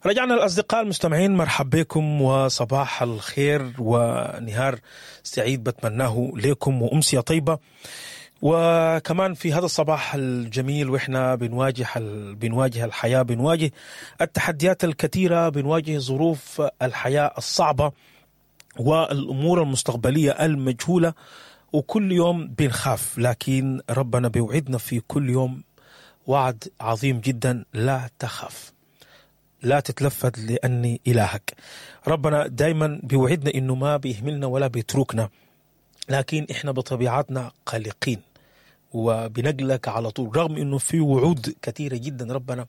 رجعنا الأصدقاء المستمعين، مرحب بكم وصباح الخير ونهار سعيد بتمناه لكم وأمسية طيبة. وكمان في هذا الصباح الجميل واحنا بنواجه الحياة، بنواجه التحديات الكثيرة، بنواجه ظروف الحياة الصعبة والأمور المستقبلية المجهولة، وكل يوم بنخاف، لكن ربنا بيوعدنا في كل يوم وعد عظيم جدا: لا تخاف، لا تتلفت لأني إلهك. ربنا دايما بيوعدنا إنه ما بيهملنا ولا بيتركنا، لكن إحنا بطبيعتنا قلقين وبنقلق على طول، رغم إنه في وعود كثيرة جدا ربنا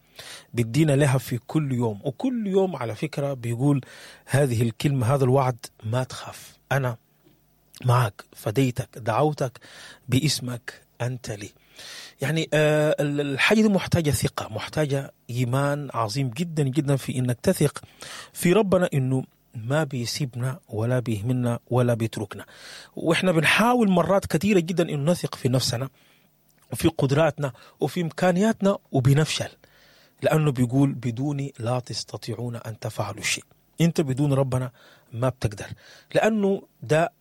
بيدينا لها في كل يوم. وكل يوم على فكرة بيقول هذه الكلمة، هذا الوعد: ما تخاف، أنا معك، فديتك، دعوتك باسمك، أنت لي. يعني الحاجة دي محتاجة ثقة، محتاجة إيمان عظيم جدا جدا في إنك تثق في ربنا إنه ما بيسيبنا ولا بيهملنا ولا بيتركنا. وإحنا بنحاول مرات كثيرة جدا إنه نثق في نفسنا وفي قدراتنا وفي إمكانياتنا وبنفشل، لأنه بيقول بدوني لا تستطيعون أن تفعلوا شيء. أنت بدون ربنا ما بتقدر، لأنه ده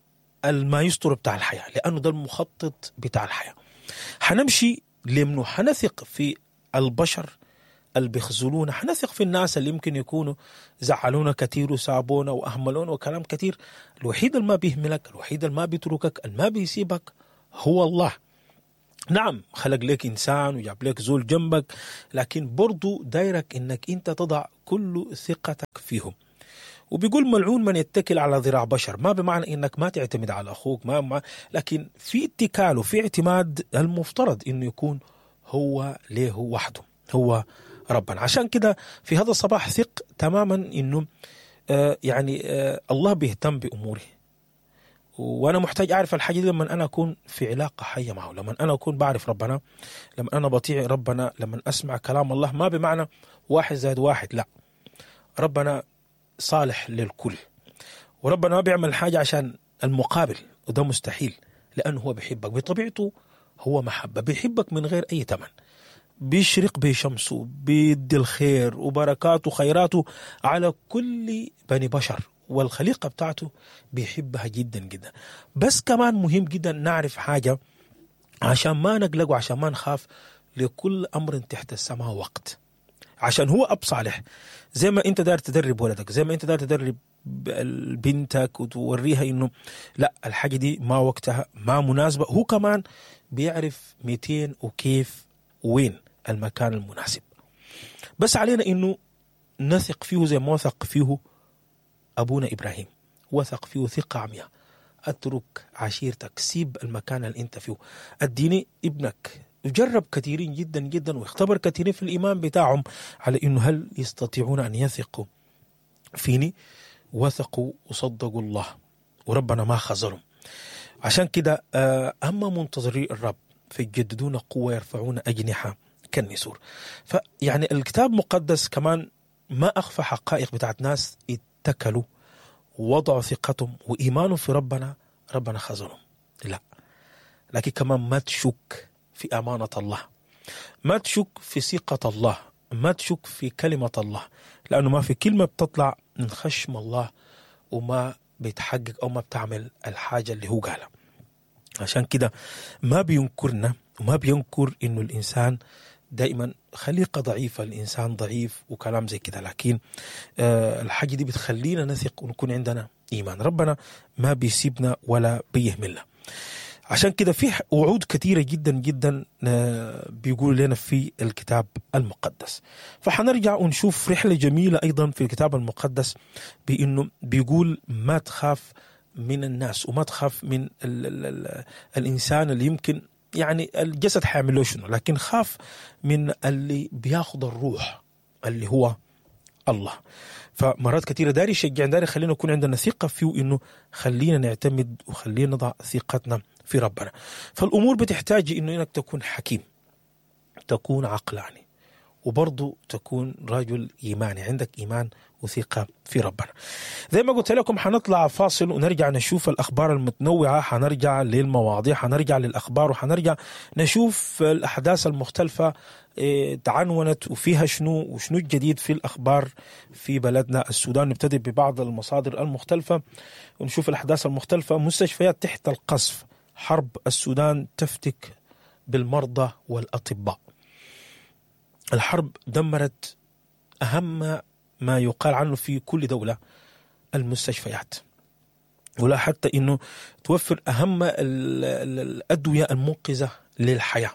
المايسترو بتاع الحياة، لأنه ده المخطط بتاع الحياة. حنمشي لمنه؟ حنثق في البشر اللي بيخذلونا، حنثق في الناس اللي يمكن يكونوا زعلونا كثير وسابونا وأهملونا وكلام كثير. الوحيد اللي ما بيهملك، الوحيد اللي ما بيتركك، اللي ما بيسيبك هو الله. نعم خلق لك إنسان وجاب لك زول جنبك، لكن برضو دايرك إنك أنت تضع كل ثقتك فيهم. وبيقول ملعون من يتكل على ذراع بشر، ما بمعنى إنك ما تعتمد على أخوك، ما لكن في اتكال وفي اعتماد المفترض إنه يكون هو ليه وحده، هو ربنا. عشان كده في هذا الصباح ثق تماما إنه الله بيهتم بأموره، وأنا محتاج أعرف الحاجة دي لما أنا أكون في علاقة حية معه، لما أنا أكون بعرف ربنا، لما أنا بطيع ربنا، لما أسمع كلام الله. ما بمعنى 1+1، لا، ربنا صالح للكل، وربنا ما بيعمل حاجة عشان المقابل، وده مستحيل، لأنه هو بيحبك بطبيعته، هو محبة، بيحبك من غير أي ثمن، بيشرق بشمسه، بيدي الخير وبركاته وخيراته على كل بني بشر، والخليقة بتاعته بيحبها جدا جدا. بس كمان مهم جدا نعرف حاجة عشان ما نقلق وعشان ما نخاف: لكل أمر تحت السماء وقت. عشان هو أب صالح، زي ما أنت داير تدرب ولدك، زي ما أنت داير تدرب بنتك وتوريها إنه لا الحاجة دي ما وقتها، ما مناسبة، هو كمان بيعرف 200 وكيف وين المكان المناسب. بس علينا إنه نثق فيه زي ما وثق فيه أبونا إبراهيم، وثق فيه ثقة عمياء. أترك عشيرتك، سيب المكان اللي أنت فيه، أديني ابنك. وجرب كثيرين جدا جدا واختبر كثيرين في الإيمان بتاعهم على إنه هل يستطيعون أن يثقوا فيني. وثقوا وصدقوا الله، وربنا ما خذلهم. عشان كده أما منتظري الرب فيجددون قوة، يرفعون أجنحة كالنسور. فيعني الكتاب المقدس كمان ما أخفى حقائق بتاعت ناس اتكلوا ووضعوا ثقتهم وإيمانهم في ربنا، ربنا خذلهم. لا، لكن كمان ما تشك في أمانة الله، ما تشك في ثقة الله، ما تشك في كلمة الله، لأنه ما في كلمة بتطلع من خشم الله وما بيتحقق أو ما بتعمل الحاجة اللي هو قالها. عشان كده ما بينكرنا وما بينكر إنه الإنسان دائما خليقة ضعيفة، الإنسان ضعيف وكلام زي كده، لكن الحاجة دي بتخلينا نثق ونكون عندنا إيمان. ربنا ما بيسيبنا ولا بيهملنا. عشان كده في وعود كثيرة جدا جدا بيقول لنا في الكتاب المقدس. فحنرجع ونشوف رحلة جميلة أيضا في الكتاب المقدس، بأنه بيقول ما تخاف من الناس وما تخاف من ال ال ال الإنسان اللي يمكن يعني الجسد حيعمل له شنو، لكن خاف من اللي بياخد الروح اللي هو الله. فمرات كثيرة داري يشجعنا، داري خلينا نكون عندنا ثقة فيه، إنه خلينا نعتمد وخلينا نضع ثقتنا في ربنا. فالأمور بتحتاج إنه إنك تكون حكيم، تكون عقلاني، وبرضه تكون رجل ايماني، عندك ايمان وثقه في ربنا. زي ما قلت لكم حنطلع فاصل ونرجع نشوف الاخبار المتنوعة، حنرجع للمواضيع، حنرجع للاخبار، وحنرجع نشوف الاحداث المختلفة تعنونت وفيها شنو وشنو الجديد في الاخبار في بلدنا السودان. نبتدي ببعض المصادر المختلفة ونشوف الاحداث المختلفة. مستشفيات تحت القصف، حرب السودان تفتك بالمرضى والاطباء. الحرب دمرت اهم ما يقال عنه في كل دولة، المستشفيات، ولا حتى انه توفر اهم الادوية المنقذه للحياة.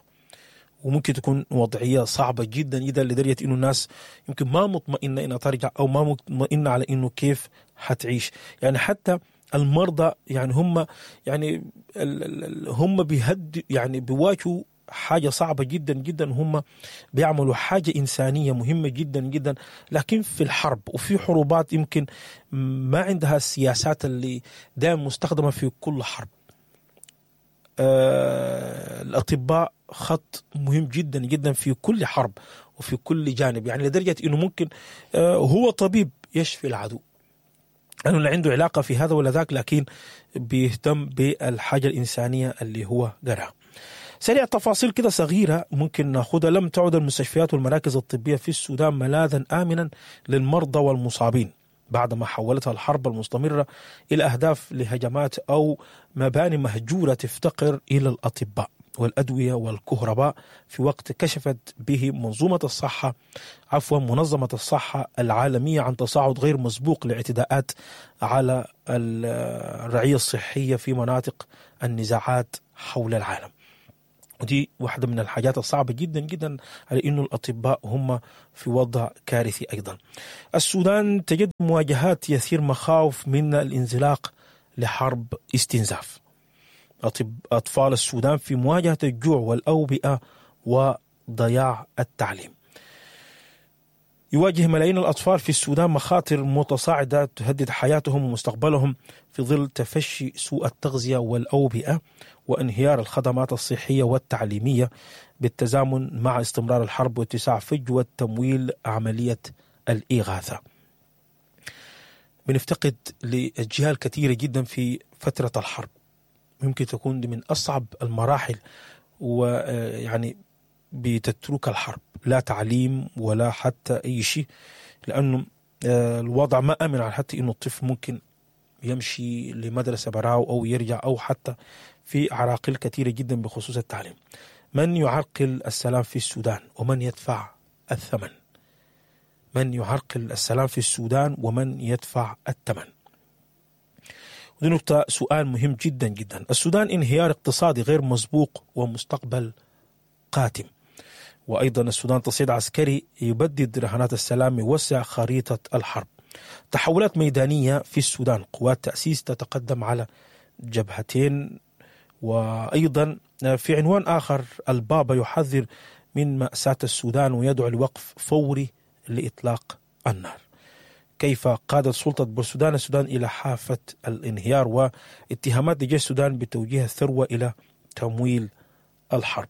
وممكن تكون وضعية صعبة جدا جدا لدرجة انه الناس يمكن ما مطمئنة انها ترجع، او ما مطمئنة على انه كيف حتعيش. يعني حتى المرضى يعني هم يعني هم بيهد يعني بيواجهوا حاجة صعبة جدا جدا، هم بيعملوا حاجة إنسانية مهمة جدا جدا، لكن في الحرب وفي حروبات يمكن ما عندها السياسات اللي دائما مستخدمة في كل حرب. الأطباء خط مهم جدا جدا في كل حرب وفي كل جانب، يعني لدرجة إنه ممكن هو طبيب يشفي العدو، لأنه لا عنده علاقة في هذا ولا ذاك، لكن بيهتم بالحاجة الإنسانية اللي هو قراها. سريع تفاصيل كده صغيرة ممكن ناخدها. لم تعد المستشفيات والمراكز الطبية في السودان ملاذا آمنا للمرضى والمصابين بعدما حولتها الحرب المستمرة إلى أهداف لهجمات أو مباني مهجورة تفتقر إلى الأطباء والأدوية والكهرباء، في وقت كشفت به منظمة الصحة العالمية عن تصاعد غير مسبوق لاعتداءات على الرعية الصحية في مناطق النزاعات حول العالم. ودي واحدة من الحاجات الصعبة جدا جدا على إنه الأطباء هم في وضع كارثي أيضا. السودان تجد مواجهات يثير مخاوف من الانزلاق لحرب استنزاف. أطفال السودان في مواجهة الجوع والأوبئة وضياع التعليم. يواجه ملايين الأطفال في السودان مخاطر متصاعدة تهدد حياتهم ومستقبلهم في ظل تفشي سوء التغذية والأوبئة وانهيار الخدمات الصحية والتعليمية، بالتزامن مع استمرار الحرب واتساع فجوة تمويل عملية الإغاثة. بنفتقد لأجيال كثيرة جدا في فترة الحرب، ممكن تكون دي من أصعب المراحل، ويعني بتترك الحرب لا تعليم ولا حتى أي شيء، لأنه الوضع ما أمن على حتى إنه الطفل ممكن يمشي لمدرسة براو أو يرجع، أو حتى في عراقيل كثيرة جدا بخصوص التعليم. من يعرقل السلام في السودان ومن يدفع الثمن؟ من يعرقل السلام في السودان ومن يدفع الثمن؟ ودي نقطة، سؤال مهم جدا جدا. السودان انهيار اقتصادي غير مسبوق ومستقبل قاتم. وأيضا السودان تصعيد عسكري يبدد رهانات السلام، يوسع خريطة الحرب. تحولات ميدانية في السودان، قوات تأسيس تتقدم على جبهتين. وأيضا في عنوان آخر، البابا يحذر من مأساة السودان ويدعو لوقف فوري لإطلاق النار. كيف قادت سلطة بورسودان السودان إلى حافة الانهيار، واتهامات لجيش السودان بتوجيه الثروة إلى تمويل الحرب.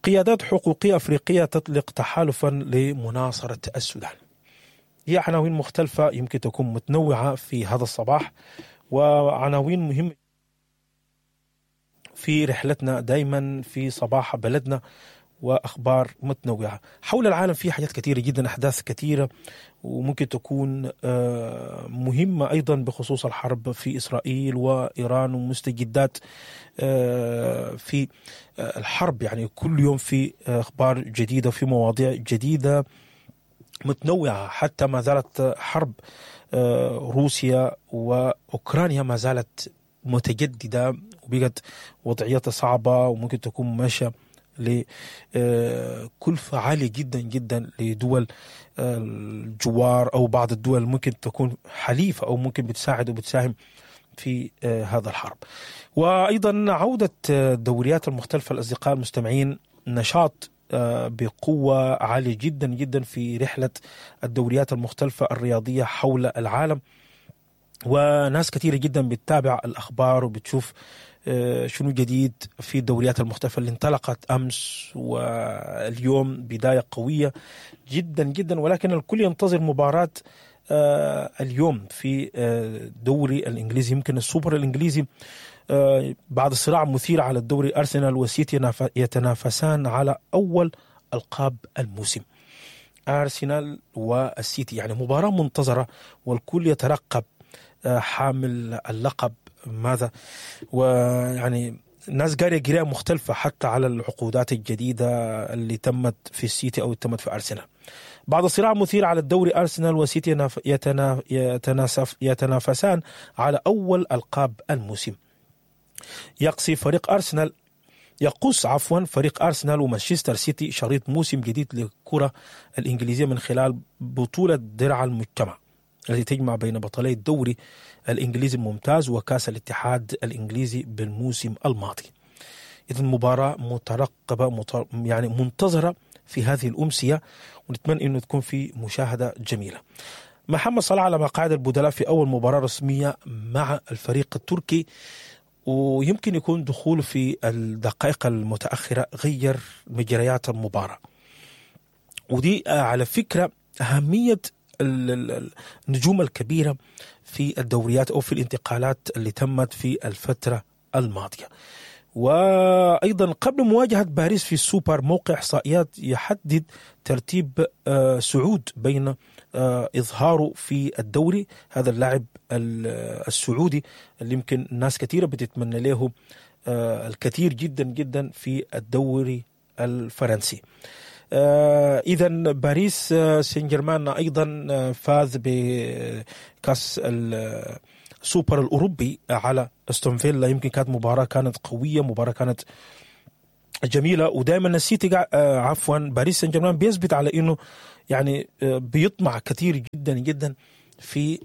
قيادات حقوقية أفريقية تطلق تحالفا لمناصرة السودان. هي عناوين مختلفة يمكن تكون متنوعة في هذا الصباح، وعناوين مهمة في رحلتنا دايما في صباح بلدنا، وأخبار متنوعة حول العالم. في حاجات كثيرة جدا، أحداث كثيرة وممكن تكون مهمة أيضا بخصوص الحرب في إسرائيل وإيران ومستجدات في الحرب. يعني كل يوم في أخبار جديدة، في مواضيع جديدة متنوعة. حتى ما زالت حرب روسيا وأوكرانيا ما زالت متجددة، وبقت وضعيتها صعبة، وممكن تكون ماشية لكلفة عالية جدا جدا لدول الجوار أو بعض الدول ممكن تكون حليفة أو ممكن بتساعد وبتساهم في هذا الحرب. وأيضا عودة الدوريات المختلفة الأصدقاء المستمعين، نشاط بقوة عالية جدا جدا في رحلة الدوريات المختلفة الرياضية حول العالم، وناس كثيرة جدا بتتابع الأخبار وبتشوف شنو جديد في الدوريات المختلفة اللي انطلقت أمس واليوم، بداية قوية جدا جدا، ولكن الكل ينتظر مباراة اليوم في الدوري الإنجليزي، يمكن السوبر الإنجليزي، بعد صراع مثير على الدوري، أرسنال وسيتي يتنافسان على أول ألقاب الموسم. أرسنال والسيتي يعني مباراة منتظرة، والكل يترقب حامل اللقب ماذا، ويعني الناس قارية قراءة مختلفة حتى على العقودات الجديدة اللي تمت في السيتي أو تمت في أرسنال. بعد صراع مثير على الدوري، أرسنال وسيتي يتنافسان على أول ألقاب الموسم. يقصي فريق أرسنال يقص عفوا فريق أرسنال ومانشستر سيتي شريط موسم جديد للكرة الإنجليزية من خلال بطولة درع المجتمع التي تجمع بين بطلي الدوري الإنجليزي الممتاز وكأس الاتحاد الإنجليزي بالموسم الماضي. إذن مباراة مترقبة يعني منتظرة في هذه الأمسية، ونتمنى أنه تكون في مشاهدة جميلة. محمد صلاح على مقاعد البدلاء في أول مباراة رسمية مع الفريق التركي، ويمكن يكون دخوله في الدقائق المتأخرة غير مجريات المباراة. ودي على فكرة أهمية النجوم الكبيرة في الدوريات أو في الانتقالات اللي تمت في الفترة الماضية. وأيضا قبل مواجهة باريس في السوبر، موقع إحصائيات يحدد ترتيب سعود بين إظهاره في الدوري، هذا اللاعب السعودي اللي يمكن ناس كثيرة بتتمنى له الكثير جدا جدا في الدوري الفرنسي. إذا باريس سان جيرمان أيضا فاز بكأس السوبر الأوروبي على استون فيلا، يمكن كانت مباراة كانت قوية، مباراة كانت جميلة، ودائما السيتي عفوا باريس سان جيرمان بيثبت على إنه يعني بيطمع كثير جدا جدا في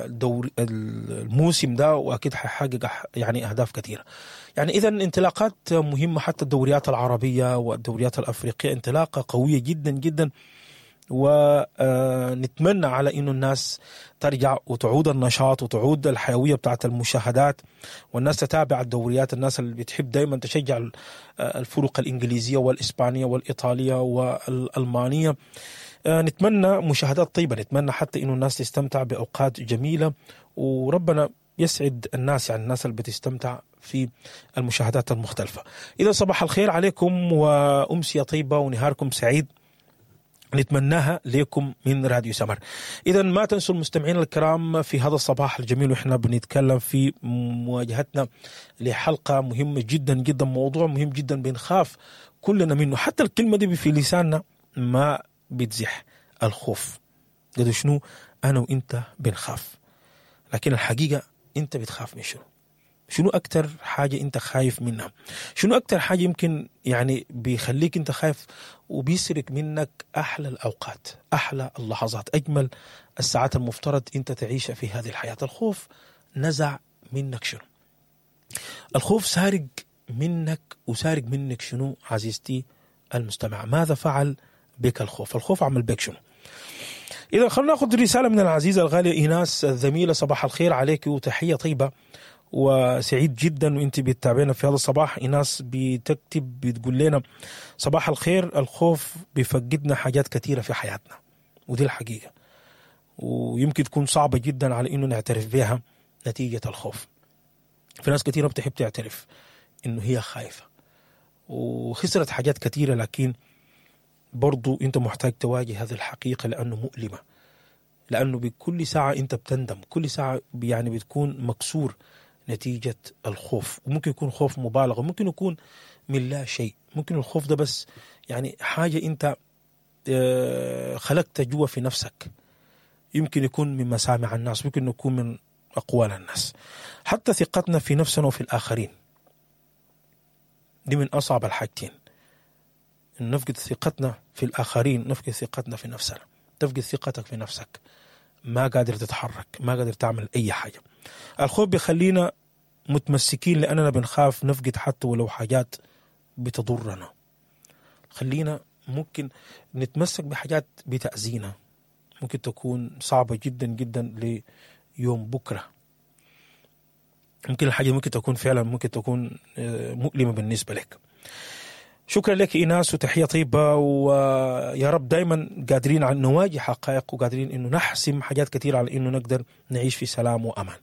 دور الموسم ده، واكيد حيحقق يعني اهداف كثيرة. يعني اذا انطلاقات مهمة، حتى الدوريات العربية والدوريات الافريقية انطلاقة قوية جدا جدا، ونتمنى على انه الناس ترجع وتعود النشاط وتعود الحيوية بتاعت المشاهدات، والناس تتابع الدوريات، الناس اللي بتحب دائما تشجع الفرق الانجليزية والاسبانيه والايطاليه والالمانيه. نتمنى مشاهدات طيبة، نتمنى حتى إنه الناس تستمتع بأوقات جميلة، وربنا يسعد الناس، يعني الناس اللي بتستمتع في المشاهدات المختلفة. إذا صباح الخير عليكم وأمسية طيبة ونهاركم سعيد نتمناها لكم من راديو سمر. إذا ما تنسوا المستمعين الكرام في هذا الصباح الجميل وإحنا بنتكلم في مواجهتنا لحلقة مهمة جدا جدا، موضوع مهم جدا بنخاف كلنا منه، حتى الكلمة دي في لساننا ما بتزح، الخوف. قد شنو أنا وإنت بنخاف، لكن الحقيقة أنت بتخاف من شنو؟ شنو أكتر حاجة أنت خايف منها؟ شنو أكتر حاجة يمكن يعني بيخليك أنت خايف وبيسرق منك أحلى الأوقات، أحلى اللحظات، أجمل الساعات المفترض أنت تعيشها في هذه الحياة؟ الخوف نزع منك شنو؟ الخوف سارق منك وسارق منك شنو عزيزتي المستمع؟ ماذا فعل بك الخوف؟ الخوف عمل بك شنو؟ إذا خلونا ناخذ رسالة من العزيزة الغالية إيناس الزميلة. صباح الخير عليك وتحية طيبة، وسعيد جدا وانت بتتابعنا في هذا الصباح. إيناس بتكتب بتقول لنا صباح الخير، الخوف بيفقدنا حاجات كثيرة في حياتنا، ودي الحقيقة، ويمكن تكون صعبة جدا على إنه نعترف بها نتيجة الخوف. في ناس كثيرة بتحب تعترف إنه هي خايفة وخسرت حاجات كثيرة، لكن برضو انت محتاج تواجه هذه الحقيقة لأنه مؤلمة، لأنه بكل ساعة انت بتندم، كل ساعة يعني بتكون مكسور نتيجة الخوف. وممكن يكون خوف مبالغ، وممكن يكون من لا شيء، ممكن الخوف ده بس يعني حاجة انت خلقت جوا في نفسك، يمكن يكون من مسامع الناس، ممكن يكون من أقوال الناس، حتى ثقتنا في نفسنا وفي الآخرين. دي من أصعب الحاجتين، نفقد ثقتنا في الآخرين، نفقد ثقتنا في نفسنا. تفقد ثقتك في نفسك، ما قادر تتحرك، ما قادر تعمل أي حاجة. الخوف بيخلينا متمسكين لأننا بنخاف نفقد حتى ولو حاجات بتضرنا. خلينا ممكن نتمسك بحاجات بتأذينا، ممكن تكون صعبة جدا جدا ليوم بكرة. ممكن الحاجة ممكن تكون فعلا ممكن تكون مؤلمة بالنسبة لك. شكرا لك ايناس وتحية طيبة، ويا رب دائما قادرين على نواجه حقائق وقادرين انه نحسم حاجات كثيرة على انه نقدر نعيش في سلام وامان.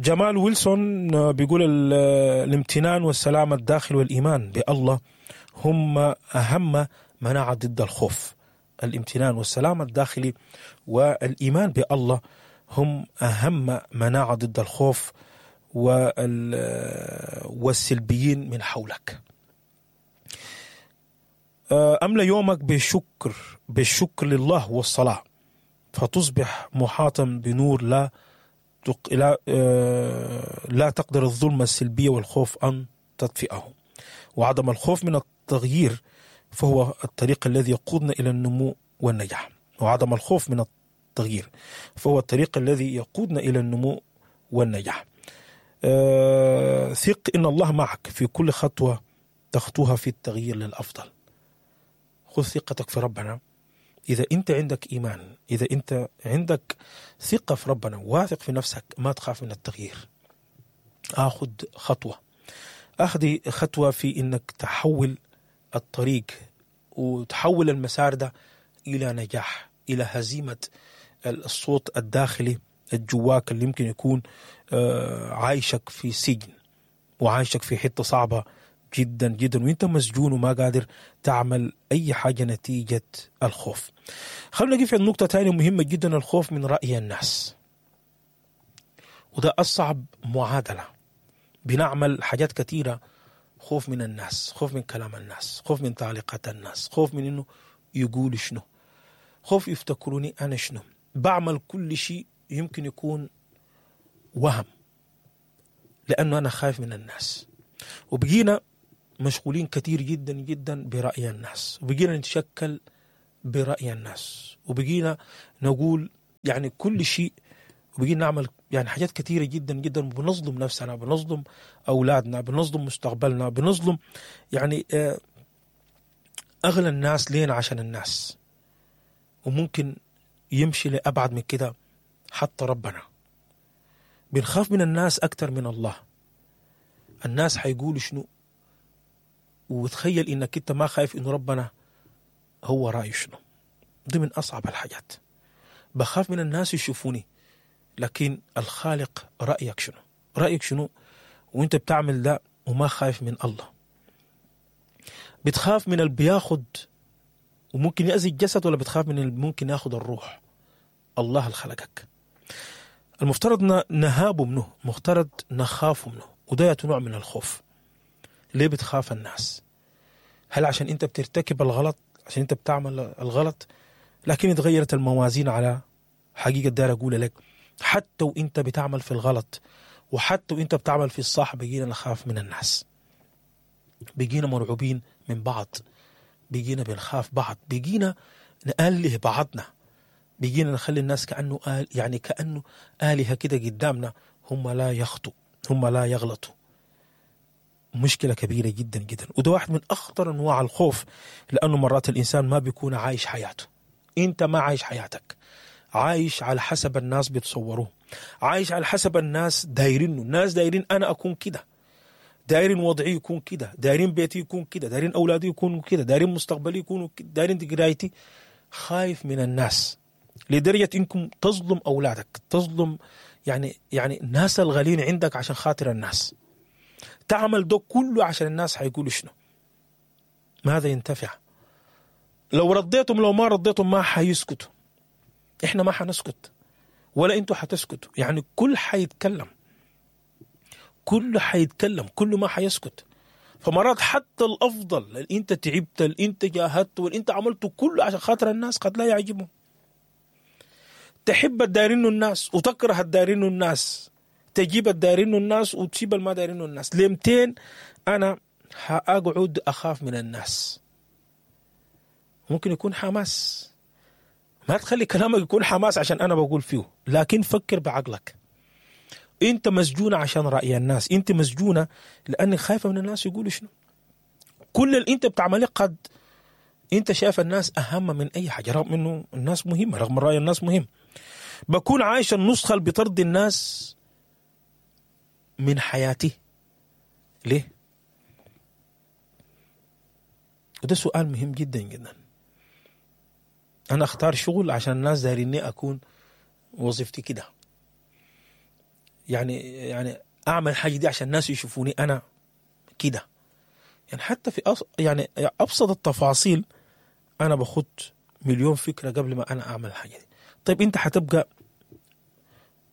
جمال ويلسون بيقول الامتنان والسلام الداخلي والايمان بالله هم اهم مناعة ضد الخوف. الامتنان والسلام الداخلي والايمان بالله هم اهم مناعة ضد الخوف والسلبيين من حولك. أملأ يومك بالشكر لله والصلاة، فتصبح محاطا بنور لا تقدر الظلمة السلبية والخوف أن تطفئه. وعدم الخوف من التغيير فهو الطريق الذي يقودنا إلى النمو والنجاح. وعدم الخوف من التغيير فهو الطريق الذي يقودنا إلى النمو والنجاح. ثق إن الله معك في كل خطوة تخطوها في التغيير للأفضل. خذ ثقتك في ربنا. إذا أنت عندك إيمان، إذا أنت عندك ثقة في ربنا، واثق في نفسك، ما تخاف من التغيير. أخذ خطوة، أخذ خطوة في إنك تحول الطريق وتحول المسار ده إلى نجاح، إلى هزيمة الصوت الداخلي الجواك اللي يمكن يكون عايشك في سجن وعايشك في حتة صعبة جدا جدا، وانت مسجون وما قادر تعمل اي حاجة نتيجة الخوف. خلونا نقف عند نقطة ثانية مهمة جدا، الخوف من رأي الناس. وده أصعب معادلة. بنعمل حاجات كثيرة خوف من الناس، خوف من كلام الناس، خوف من تعليقات الناس، خوف من انه يقولوا شنو، خوف يفتكروني انا شنو. بعمل كل شيء يمكن يكون وهم لانه انا خايف من الناس. وبقينا مشغولين كثير جدا جدا برأي الناس، وبقينا نتشكل برأي الناس، وبقينا نقول يعني كل شيء، وبقينا نعمل يعني حاجات كثيرة جدا جدا، بنظلم نفسنا، بنظلم أولادنا، بنظلم مستقبلنا، بنظلم يعني أغلى الناس لينا عشان الناس. وممكن يمشي لأبعد من كده حتى ربنا. بنخاف من الناس أكثر من الله. الناس حيقولوا شنو، وتخيل انك انت ما خايف انه ربنا هو رايه شنو. دي من اصعب الحاجات. بخاف من الناس يشوفوني، لكن الخالق رايك شنو، رايك شنو وانت بتعمل ده وما خايف من الله. بتخاف من اللي بياخد وممكن يأذي الجسد، ولا بتخاف من اللي ممكن ياخد الروح؟ الله اللي خلقك. المفترض نهابه منه، مفترض نخاف منه، وده نوع من الخوف. ليه بتخاف الناس؟ هل عشان انت بترتكب الغلط، عشان انت بتعمل الغلط؟ لكن اتغيرت الموازين على حقيقة دار اقول لك، حتى وانت بتعمل في الغلط وحتى وانت بتعمل في الصح بقينا نخاف من الناس، بقينا مرعوبين من بعض، بقينا بنخاف بعض، بقينا نأله بعضنا، بقينا نخلي الناس كأنه يعني كأنه آلهة كده قدامنا، هم لا يخطوا، هم لا يغلطوا. مشكلة كبيرة جدا جدا، وده واحد من أخطر أنواع الخوف، لأنه مرات الإنسان ما بيكون عايش حياته. أنت ما عايش حياتك، عايش على حسب الناس بيتصوروه، عايش على حسب الناس دايرينه. الناس دايرين أنا أكون كده، دايرين وضعي يكون كده، دايرين بيتي يكون كده، دايرين أولادي يكونوا كده، دايرين مستقبلي يكونوا كده، دايرين قرايتي. خايف من الناس لدرجة إنكم تظلم أولادك، تظلم يعني الناس الغالين عندك عشان خاطر الناس. تعمل ده كله عشان الناس حيقولوا شنو، ماذا ينتفع؟ لو رضيتم لو ما رضيتم ما حيسكتوا. احنا ما حنسكت ولا انتوا حتسكتوا. يعني كل حيتكلم، كل حيتكلم، كل ما حيسكت. فمرات حتى الافضل اللي انت تعبت، اللي انت جاهدت، واللي انت عملته كله عشان خاطر الناس قد لا يعجبهم. تحب الدايرينه الناس وتكره الدايرينه الناس، تجيب الدايرينه الناس وتسيب الما دايرينه الناس. لمتين انا هاقعد اخاف من الناس؟ ممكن يكون حماس، ما تخلي كلامك يكون حماس عشان انا بقول فيه، لكن فكر بعقلك. انت مسجونة عشان رأي الناس، انت مسجونة لانك خايفة من الناس يقولوا شنو. كل اللي انت بتعمله قد انت شايف الناس اهم من اي حاجة، رغم انه الناس مهمة، رغم رأي الناس مهم. بكون عايش النسخة اللي بترضي الناس من حياتي ليه؟ وده سؤال مهم جدا جدا. انا اختار شغل عشان الناس دايريني اكون وظيفتي كده، يعني اعمل حاجة دي عشان الناس يشوفوني انا كده. يعني حتى في يعني ابسط التفاصيل انا باخد مليون فكرة قبل ما انا اعمل الحاجة دي. طيب انت حتبقى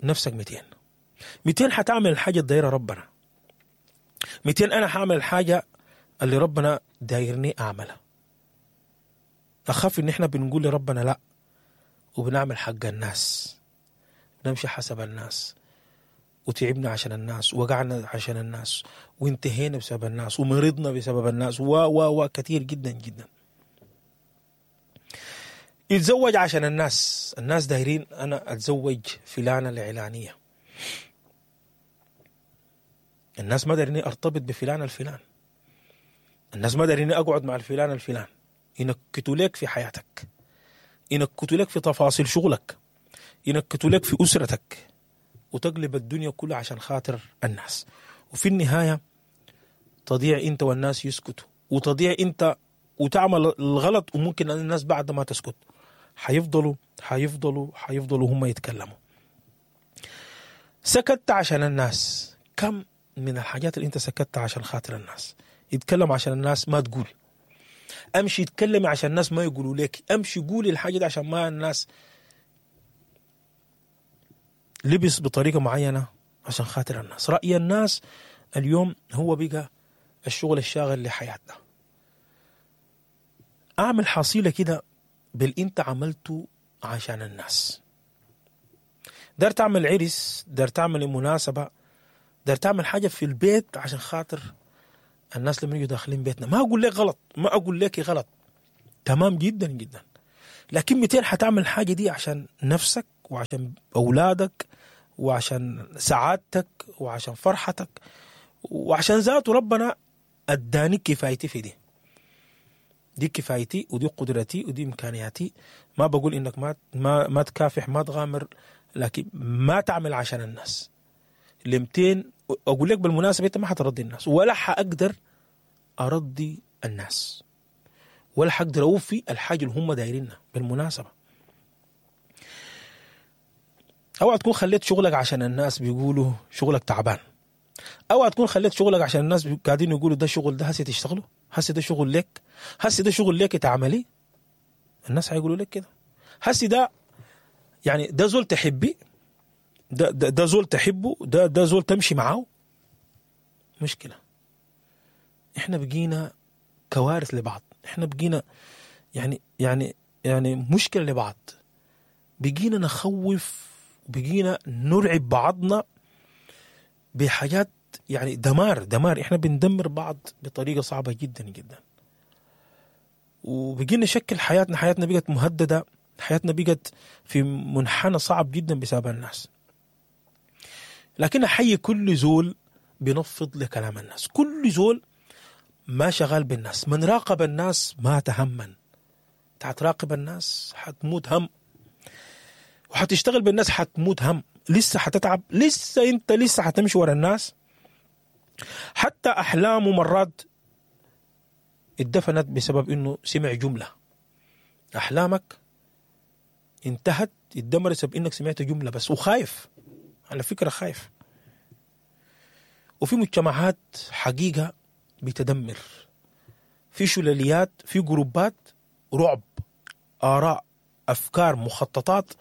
نفسك 200 200 حتعمل الحاجة الدايرة ربنا، 200 انا هعمل الحاجة اللي ربنا دايرني اعملها. اخاف ان احنا بنقول لربنا لا، وبنعمل حق الناس، بنمشي حسب الناس، وتعبنا عشان الناس، وقعنا عشان الناس، وانتهينا بسبب الناس، ومرضنا بسبب الناس، و و و كثير جدا جدا. يتزوج عشان الناس، الناس دايرين انا اتزوج فلانه العلانية، الناس ما دايريني ارتبط بفلان الفلان، الناس ما دايريني اقعد مع الفلان الفلان. ينكتوا لك في حياتك، ينكتوا لك في تفاصيل شغلك، ينكتوا لك في اسرتك، وتقلب الدنيا كلها عشان خاطر الناس. وفي النهاية تضيع انت والناس يسكتوا، وتضيع انت وتعمل الغلط، وممكن الناس بعد ما تسكت حيفضلوا حيفضلوا حيفضلوا هم يتكلموا. سكت عشان الناس، كم من الحاجات اللي انت سكتت عشان خاطر الناس؟ يتكلم عشان الناس ما تقول، امشي يتكلم عشان الناس ما يقولوا لك، امشي قولي الحاجة دي عشان ما الناس. لبس بطريقة معينة عشان خاطر الناس. رأي الناس اليوم هو بقى الشغل الشاغل لحياتنا. اعمل حصيلة كده بالانت عملته عشان الناس. دار تعمل عرس، دار تعمل مناسبة، دار تعمل حاجة في البيت عشان خاطر الناس لما يجوا داخلين بيتنا. ما اقول لك غلط، ما اقول لك غلط، تمام جدا جدا، لكن 200 حتعمل الحاجة دي عشان نفسك وعشان اولادك وعشان سعادتك وعشان فرحتك وعشان ذاته ربنا اداني كفايتي في دي، دي كفايتي ودي قدرتي ودي امكانياتي. ما بقول انك ما ما ما تكافح، ما تغامر، لكن ما تعمل عشان الناس. ل 200 اقول لك بالمناسبة انت ما حترضي الناس، ولا حاقدر ارضي الناس، ولا حقدر اوفي الحاجة اللي هم دايرينها. بالمناسبة اوعى تكون خليت شغلك عشان الناس بيقولوا شغلك تعبان، اوعى تكون خليت شغلك عشان الناس قاعدين يقولوا ده شغل، ده هسه تشتغله، هسه ده شغل لك، هسه ده شغل لك تعملي. الناس هيقولوا لك كده، هسه ده يعني ده زول تحبي، ده ده, ده زول تحبه، ده ده زول تمشي معاه. مشكلة، احنا بقينا كوارث لبعض، احنا بقينا يعني يعني يعني مشكلة لبعض، بقينا نخوف، بقينا نرعب بعضنا بحاجات يعني دمار دمار. احنا بندمر بعض بطريقة صعبة جدا جدا، وبقينا نشكل حياتنا، حياتنا بقت مهددة، حياتنا بقت في منحنى صعب جدا بسبب الناس. لكن احيي كل زول بينفض لكلام الناس، كل زول ما شغال بالناس، من راقب الناس ما تهمن. تراقب الناس حتموت هم، وحتشتغل بالناس حتموت هم، لسه حتتعب، لسه انت لسه حتمشي ورا الناس. حتى احلامه مرات اتدفنت بسبب انه سمع جملة. احلامك انتهت، اتدمرت بسبب انك سمعت جملة بس، وخايف على فكرة، خايف. وفي مجتمعات حقيقة بتدمر، في شلاليات، في جروبات رعب، اراء، افكار، مخططات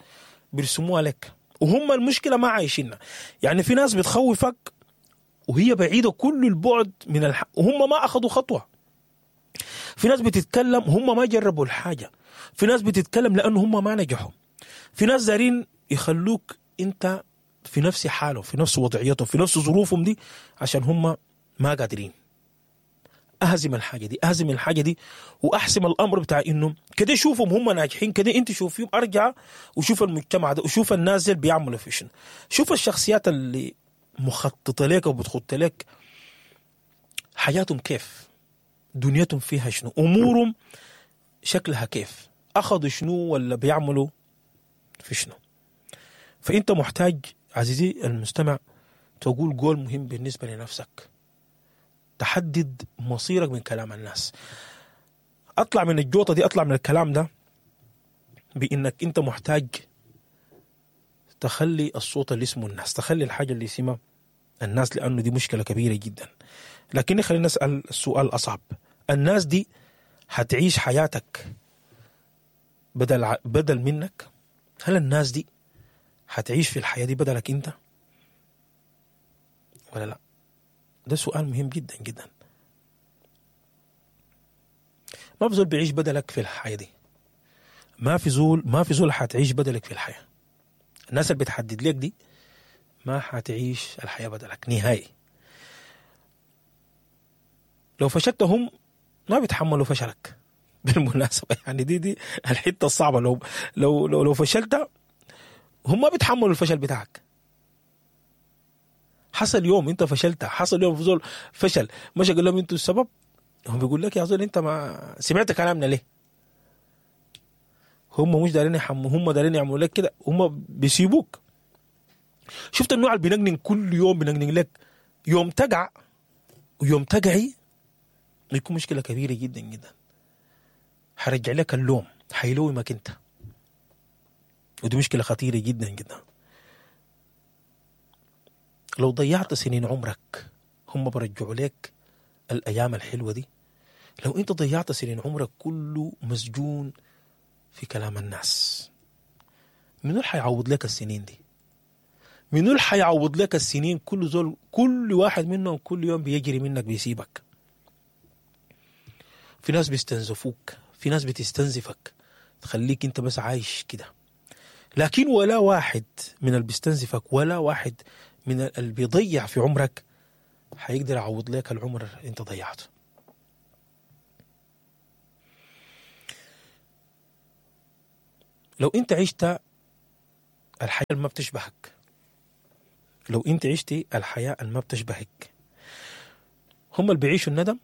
بيرسموها لك، وهم المشكلة ما عايشينها. يعني في ناس بتخوفك وهي بعيدة كل البعد من وهم ما اخذوا خطوة. في ناس بتتكلم هم ما جربوا الحاجة، في ناس بتتكلم لانه هم ما نجحوا، في ناس دارين يخلوك انت في نفس حاله، في نفس وضعيته، في نفس ظروفهم دي، عشان هم ما قادرين. اهزم الحاجة دي، اهزم الحاجة دي، واحسم الامر بتاع انه كده شوفهم هم ناجحين كده، انت شوفيهم، ارجع وشوف المجتمع ده، وشوف الناس اللي بيعملوا في شنو، شوف الشخصيات اللي مخططه لك وبتخط لك حياتهم كيف، دنيتهم فيها شنو، امورهم شكلها كيف، اخذوا شنو ولا بيعملوا في شنو. فانت محتاج عزيزي المستمع تقول قول مهم بالنسبة لنفسك، تحدد مصيرك من كلام الناس. اطلع من الجوطة دي، اطلع من الكلام ده بانك انت محتاج تخلي الصوت اللي اسمه الناس، تخلي الحاجة اللي اسمها الناس، لانه دي مشكلة كبيرة جدا. لكن خلينا نسأل السؤال الأصعب، الناس دي هتعيش حياتك بدل منك؟ هل الناس دي هتعيش في الحياة دي بدلك انت ولا لا؟ ده سؤال مهم جدا جدا. ما في زول بيعيش بدلك في الحياة دي، ما في زول حتعيش بدلك في الحياة. الناس اللي بتحدد لك دي ما حتعيش الحياة بدلك نهائي. لو فشلت هم ما بيتحملوا فشلك بالمناسبة، يعني دي الحتة الصعبة. لو لو لو, لو فشلت هم ما بيتحملوا الفشل بتاعك. حصل يوم انت فشلت، حصل يوم زول فشل مش قال لهم انتوا السبب، هم بيقول لك يا زول انت ما سمعت كلامنا ليه؟ هم مش دارين هم دارين يعملوا لك كده، هم بيسيبوك. شفت النوع اللي بينقنن كل يوم، بينقنن لك يوم تقع ويوم تقعي يكون مشكلة كبيرة جدا جدا. حرجع لك اللوم، حيلومك انت، ودي مشكلة خطيرة جدا جدا. لو ضيعت سنين عمرك هم برجعوا لك الأيام الحلوة دي. لو انت ضيعت سنين عمرك كله مسجون في كلام الناس، منو اللي حيعوض لك السنين دي؟ منو اللي حيعوض لك السنين؟ كل زول، كل واحد منهم كل يوم بيجري منك بيسيبك. في ناس بيستنزفوك، في ناس بتستنزفك تخليك انت بس عايش كده. لكن ولا واحد من اللي بيستنزفك، ولا واحد من اللي بيضيع في عمرك حيقدر يعوض لك العمر انت ضيعته. لو انت عشت الحياة اللي ما بتشبهك، لو انت عشتي الحياة اللي ما بتشبهك، هم اللي بيعيشوا الندم،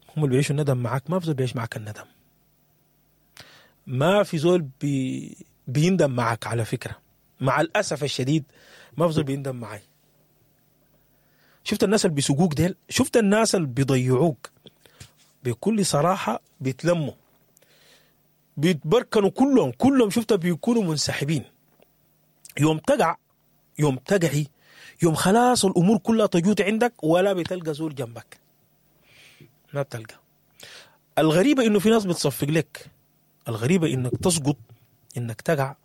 هم اللي بيعيشوا الندم معاك. ما في زول بيعيش معاك الندم، ما في زول بيندم معاك على فكرة. مع الأسف الشديد ما في زول بيندم معاي. شفت الناس اللي بيسوقوك ديل، شفت الناس اللي بيضيعوك بكل صراحة، بيتلموا بيتبركنوا كلهم، شفت بيكونوا منسحبين. يوم تقع، يوم تقعي، يوم خلاص الأمور كلها تجوت عندك، ولا بتلقى زول جنبك، ما بتلقى. الغريبة إنه في ناس بتصفق لك، الغريبة إنك تسقط، إنك تقع،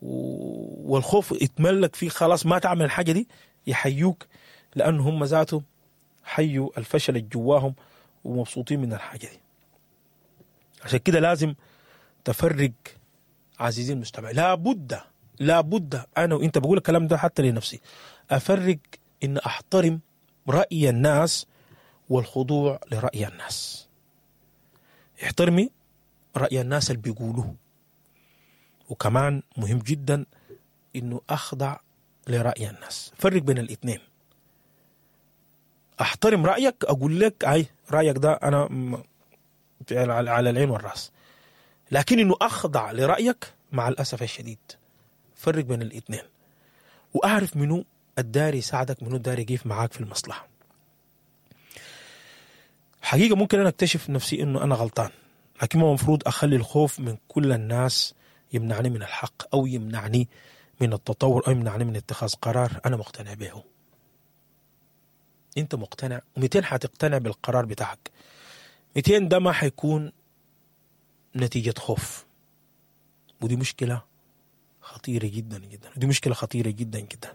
والخوف يتملك فيه، خلاص ما تعمل الحاجة دي، يحيوك، لأن هم ذاتهم حيوا الفشل اللي جواهم ومبسوطين من الحاجة دي. عشان كده لازم تفرق عزيزي المستمع، لابد لابد، أنا وإنت بقول الكلام ده حتى لنفسي، أفرق إن أحترم رأي الناس والخضوع لرأي الناس. احترمي رأي الناس اللي بيقولوه، وكمان مهم جدا إنه أخضع لرأي الناس. فرق بين الاثنين. أحترم رأيك، أقول لك أي رأيك ده أنا على العين والرأس، لكن إنه أخضع لرأيك مع الأسف الشديد. فرق بين الاثنين، وأعرف منو الداري يساعدك، منو الداري يقف معاك في المصلحة. حقيقة ممكن أنا أكتشف نفسي إنه أنا غلطان، لكن ما مفروض أخلي الخوف من كل الناس يمنعني من الحق، أو يمنعني من التطور، أو يمنعني من اتخاذ قرار أنا مقتنع به. أنت مقتنع، و200 حتقتنع بالقرار بتاعك، 200 ده ما حيكون نتيجة خوف. ودي مشكلة خطيرة جدا جدا، ودي مشكلة خطيرة جدا جدا.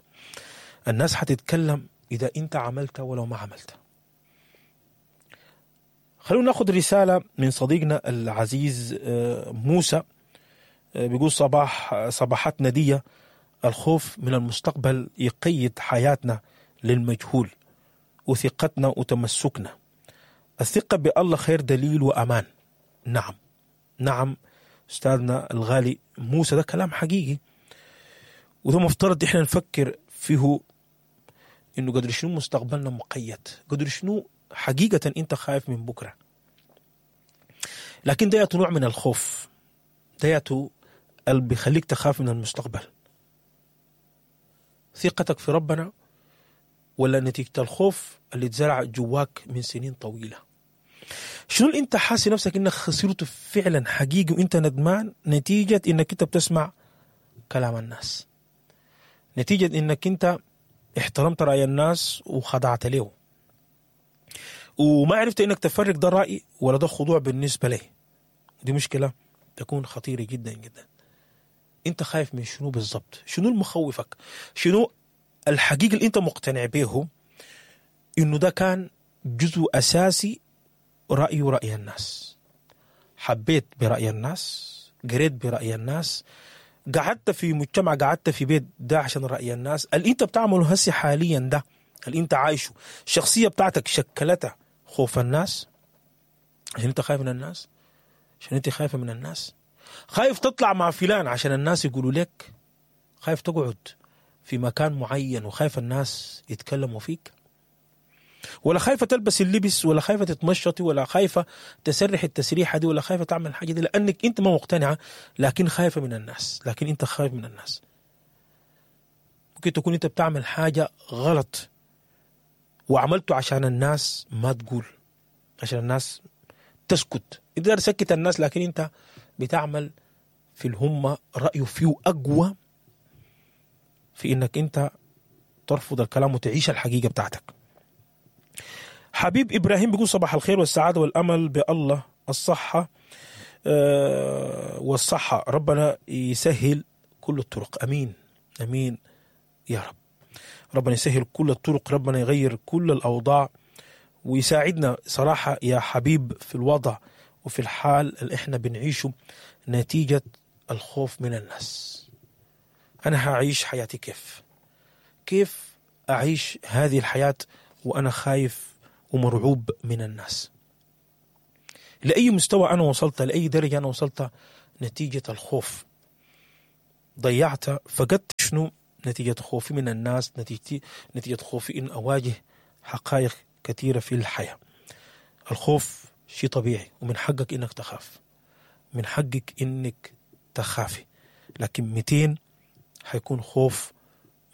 الناس حتتكلم إذا أنت عملت ولو ما عملت. خلونا ناخذ رسالة من صديقنا العزيز موسى، بيقول صباحات ندية، الخوف من المستقبل يقيد حياتنا للمجهول وثقتنا وتمسكنا. الثقة بالله خير دليل وأمان. نعم نعم أستاذنا الغالي موسى، ده كلام حقيقي، وده مفترض إحنا نفكر فيه، إنه قدر شنو مستقبلنا مقيد، قدر شنو حقيقة أنت خايف من بكرة. لكن ده نوع من الخوف، ده اللي بيخليك تخاف من المستقبل. ثقتك في ربنا ولا نتيجة الخوف اللي اتزرع جواك من سنين طويلة؟ شنو اللي انت حاسس نفسك انك خسرته فعلا حقيقي وانت ندمان نتيجة انك انت بتسمع كلام الناس، نتيجة انك انت احترمت رأي الناس وخضعت له وما عرفت انك تفرق ده رأي ولا ده خضوع بالنسبة لي؟ دي مشكلة تكون خطيرة جدا جدا. انت خايف من شنو بالضبط؟ شنو المخوفك؟ شنو الحقيقة اللي انت مقتنع به انه ده كان جزء اساسي رأي ورأي الناس؟ حبيت برأي الناس، قريت برأي الناس، قعدت في مجتمع، قعدت في بيت ده عشان رأي الناس. اللي انت بتعمله هسي حاليا ده اللي انت عايشه، الشخصية بتاعتك شكلتها خوف الناس، عشان انت خايف من الناس، عشان انت خايفة من الناس، خايف تطلع مع فلان عشان الناس يقولوا لك، خايف تقعد في مكان معين وخايف الناس يتكلموا فيك، ولا خايفة تلبس اللبس، ولا خايفة تتمشطي، ولا خايفة تسرح التسريحة دي، ولا خايفة تعمل الحاجة دي لأنك أنت ما مقتنعة، لكن خايفة من الناس، لكن أنت خايف من الناس. ممكن تكون أنت بتعمل حاجة غلط وعملته عشان الناس ما تقول، عشان الناس تسكت، أنت تسكت الناس، لكن أنت بتعمل في الهمة رأيه فيه أقوى في إنك أنت ترفض الكلام وتعيش الحقيقة بتاعتك. حبيب إبراهيم بيقول صباح الخير والسعادة والأمل بالله، الصحة والصحة، ربنا يسهل كل الطرق. أمين أمين يا رب، ربنا يسهل كل الطرق، ربنا يغير كل الأوضاع ويساعدنا صراحة يا حبيب في الوضع وفي الحال اللي احنا بنعيشه نتيجة الخوف من الناس. أنا هعيش حياتي كيف؟ كيف أعيش هذه الحياة وأنا خايف ومرعوب من الناس؟ لأي مستوى أنا وصلت، لأي درجة أنا وصلت نتيجة الخوف؟ ضيعت، فقدت شنو نتيجة خوفي من الناس، نتيجة خوفي إن أواجه حقائق كثيرة في الحياة. الخوف شيء طبيعي ومن حقك إنك تخاف، من حقك إنك تخافي، لكن 200 حيكون خوف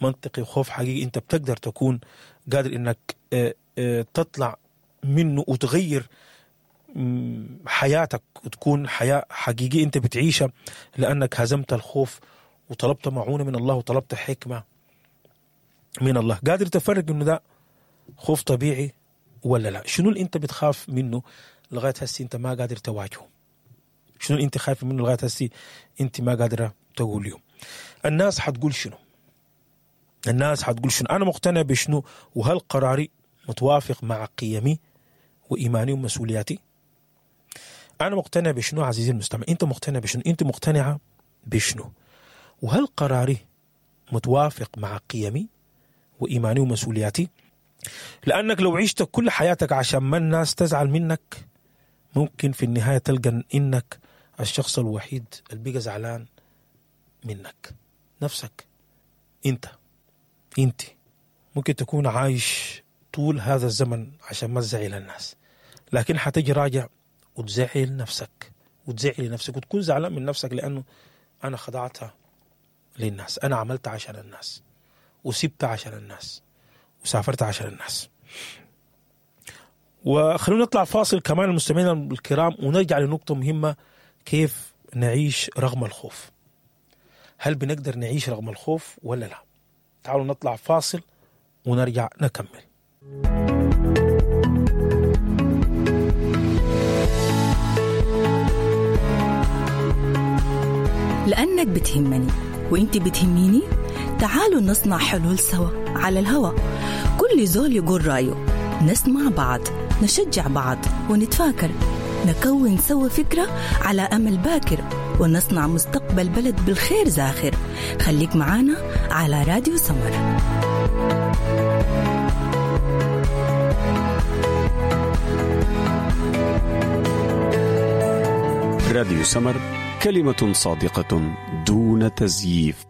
منطقي وخوف حقيقي أنت بتقدر تكون قادر إنك تطلع منه وتغير حياتك وتكون حياة حقيقية أنت بتعيشها، لأنك هزمت الخوف وطلبت معونة من الله وطلبت حكمة من الله. قادر تفرق إنه ده خوف طبيعي ولا لا؟ شنو اللي أنت بتخاف منه لغاية هسي أنت ما قادر تواجهه؟ شنو اللي أنت خايف منه لغاية هسي أنت ما قادرة تقوله؟ الناس حتقول شنو؟ الناس حتقول شنو؟ أنا مقتنع بشنو؟ وهل قراري متوافق مع قيمي وإيماني ومسؤولياتي؟ أنا مقتنع بشنو عزيزي المستمع؟ أنت مقتنع بشنو؟ أنت مقتنعة بشنو؟ وهل قراري متوافق مع قيمي وإيماني ومسؤولياتي؟ لأنك لو عشت كل حياتك عشان ما الناس تزعل منك، ممكن في النهاية تلقى إنك الشخص الوحيد اللي بقى زعلان منك، نفسك أنت. أنت ممكن تكون عايش طول هذا الزمن عشان ما تزعل الناس، لكن حتجي راجع وتزعل نفسك وتزعل نفسك وتكون زعلان من نفسك، لأنه أنا خضعتها للناس، أنا عملت عشان الناس، وسبت عشان الناس، وسافرت عشان الناس. وخلونا نطلع فاصل كمان المستمعين الكرام ونرجع لنقطة مهمة: كيف نعيش رغم الخوف؟ هل بنقدر نعيش رغم الخوف ولا لا؟ تعالوا نطلع فاصل ونرجع نكمل. لأنك بتهمني وإنت بتهميني، تعالوا نصنع حلول سوا على الهوا. كل زول يقول رأيه، نسمع بعض، نشجع بعض، ونتفاكر، نكون سوا فكرة على أمل باكر، ونصنع مستقبل بلد بالخير زاخر. خليك معانا على راديو سمر. راديو سمر، كلمة صادقة دون تزييف.